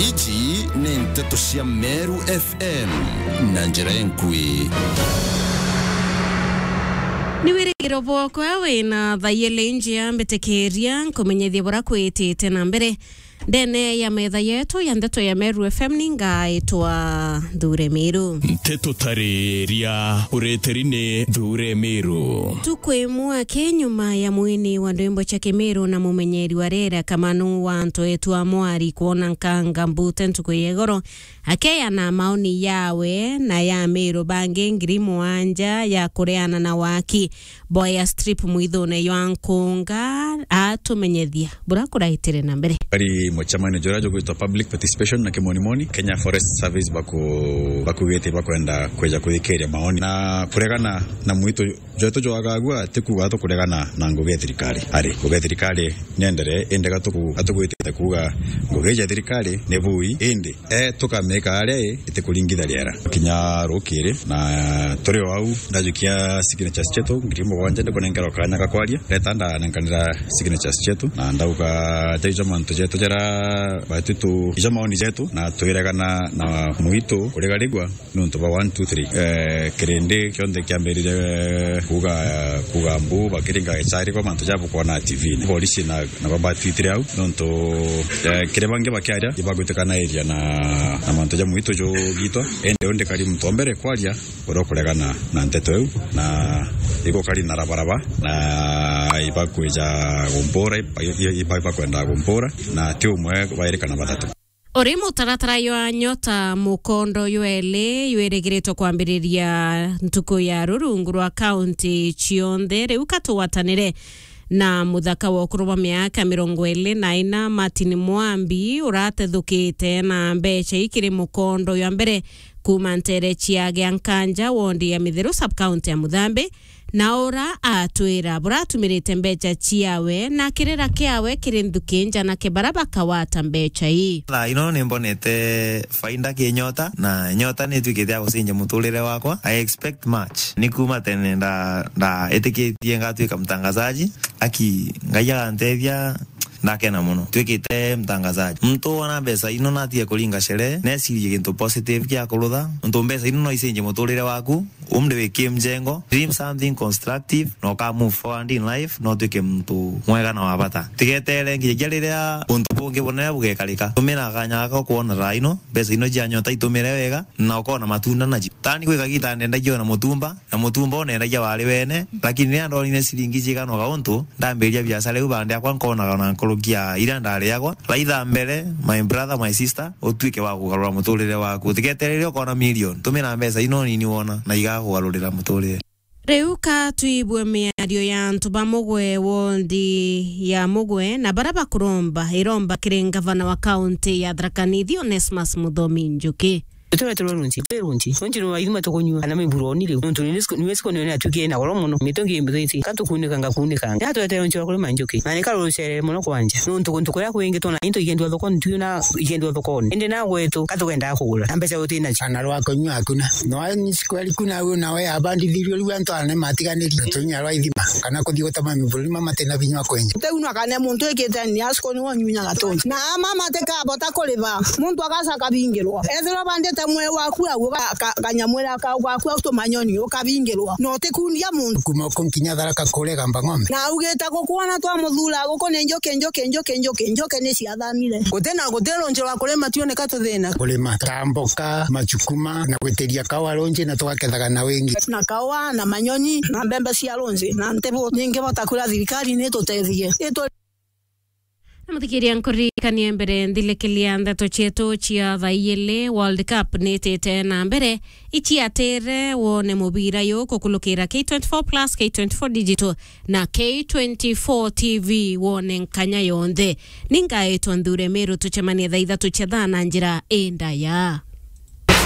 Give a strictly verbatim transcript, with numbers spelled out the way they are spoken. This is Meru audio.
Iji ni nteto cia Meru F M na njira enkui. Ni wirigiro bwakwa wina thaa iiri njia mbitikiria nkumenyithie bura kwitite na mbere. Ndene ya metha yetu ya ndeto ya Meru F M ni ngaitwa Nthure Miru. Nteto tariria ureteri ni Nthure Miru. Ntuku imwe aki nyuma ya mwini wa ndwimbo cia Kimiru na mumenyeri wa rere Kamanu wa antu etu a Mwari kwona nkanga mbute ntuku ya igoro, akeana maoni yawe na ya Miru bangi ngiri mugwanja ya kureana na waki. Boya strip mwithune ywa nkunga atumenyethia bura kuraitire na mbere. Ari mucemanio jura jugwitwa public participation na kimonimoni, Kenya Forest Service baku-, bakugite bakwenda kweja kuthikiria maoni na kuregana na mwitu jwetu jwagagua, ti kuuga tukuregana na ngugi ya thirikari. Ari, ngugi ya thirikari niendere, indi gatuku-, gatugwitite kuuga ngugi ya thirikari ni bui, indi e, tukamika aria i, itikuringitha riera. Kinya rukiri, na turi o au, ndajukia signatures cietu ngiri mugwanja, ndikunenkerwa kanya ga kwaria. Ndeta ndanenkanira signatures cietu, na ndauga, jaijo mantu jetu jara batutu, ijo maoni jetu, na twiregana na mwitu kurigarigwa nontu bwa one, two, three. Eh, kirindi kionthe kiambirire kuga, kuga mbu, bakiringa gicari kwa mantu ja bukwona T V-ini. Polisi na, na babatwitire au, nontu, eh, kiri bangi bakiaria, ibagwitikanairiria na, na mantu ja mwitu jugitwa. Indi undi kari muntu wa mbere kwaria, uria ukuregana na nteto iu, na igukari na rabaraba, na ibakwija gumpura, iba-, iba-, iba-, ibakwenda gumpura, na ti umwe, bairi kana bathatu. Uri mutaratara jwa Nyota mukondo jweli jwirigiritwe kwambiriria ntuku ya rurungu rwa kaunti cionthe, riu ka tugwatanire na muthaka wa ukuru bwa miaka mirongo iri na ina, Martin Mwambi, uratethukite na mbeca ikiri mukondo jwa mbere kuuma ntere cia Giankanja, wondi ya Mitheru, sub-county ya Muthambi, na ura atwira buratumirite mbeca ciawe na kirira kiawe kiri nthuki nja na kibara bakawata mbeca ii. Thaa ino ni mbonete faida ki Nyota, na Nyota ni itwikite ya gucenjia muturire wakwa. I expect much. Ni kuuma tene nda-, ndaitikitie ngatwika mtangazaji. Aki, Ngai agantethia, ndakena muno. Twikite mtangazaji. Muntu wona mbeca ino natige kuringa sherehe, necirie gintu positive kia kurutha. Nontu mbeca ino no icenjie muturire waku. Umri wi ki mjengo, dream something constructive, na uka move forward in life, na utwike muntu mwega na wa bata. Tigetere nginyagia riria untu bungi bunene bugekarika. Tumira kanya gaka ukwona thaa ino, mbeca ino cia Nyota itumire wega, na ukona matunda nacio. Tani gwi kagiita ndendagia ona mutumba, na mutumba unendagia wari wene, lakini riria ndonire ciringi cigana uga untu, ndambiria biacara iu bandi akwa nkonaga ona nkuruki ya iria ndariagwa. Raitha mbere, my brother, my sister, utwike wa kugarura muturire waku. Utigetere riria ukona million, tumira mbeca ino nini wona, na igakugarurira muturire. Riu ka twibue miario ya antu ba Mugwe, wondi ya Mugwe, na baria bakuromba iromba kiri ngavana wa kaunti ya Tharaka Nithi, Onesmus Muthomi Njuki. Tureterwe runji, twi runji. Runji ni waithima tukunyua, kana miburoni riu. Nontu ni siku, ni siku ni atukie na goro muno. Mitungi imbithiti, ka tukunika ngakunika. Na turetere runji rwa kurima njuki. Na ni karurucere muno kwanja. Nontu kuntu kuria kwingi twona into ikendwa thokoni, twiona ikendwa thokoni. Indi na gwetu, ka tukendaa kugura. Na mbeca uti nacio. Ana rwa kunyua hakuna. No ni siku ya riku na u na we abandithirio riu antu ana matiganiri. Tunya rwa ithima. Kana kuthi gutama miburoni mama matina binya wa kwenja. Teu no kana muntu ikite ni asiko ni wonyunya gatonji. Na mama te kabota kuriba. Muntu agaca akabingirwa. Ethirwa bandite mwee waku au, ka-, ka-, kanyamwira kau gaku au tumanyoni, ukabingirwa. Na utikundia muntu. Kuma uku nkinya Tharaka kuria Gamba Ng'ombe. Na augite gukwona twamuthura guku ni njuki, njuki, njuki, njuki, njuki ni ciathamire. Guti na, guti runji rwa kurima tioneka tuthina. Kurima ta mboka, macukuma, na gwitiria kawa runji na tugakethaga na wingi. Na kawa, na manyoni, na mbembe cia runji, na ntibu. Ningi bota kuria thirikari ni tutethie. Itu- Na muthikiria, nkuririkanie mbere nthilikiria ndeto cietu cia thaa iili, World Cup nitite na mbere. Iciatire wone mubira yu kukulukira K twenty-four plus, K twenty-four Digital na K twenty-four T V wone nkanya yonthe. Ningaitwa Nthure Miru, tucemanie thaa ithatu cia thaa na njira indaya.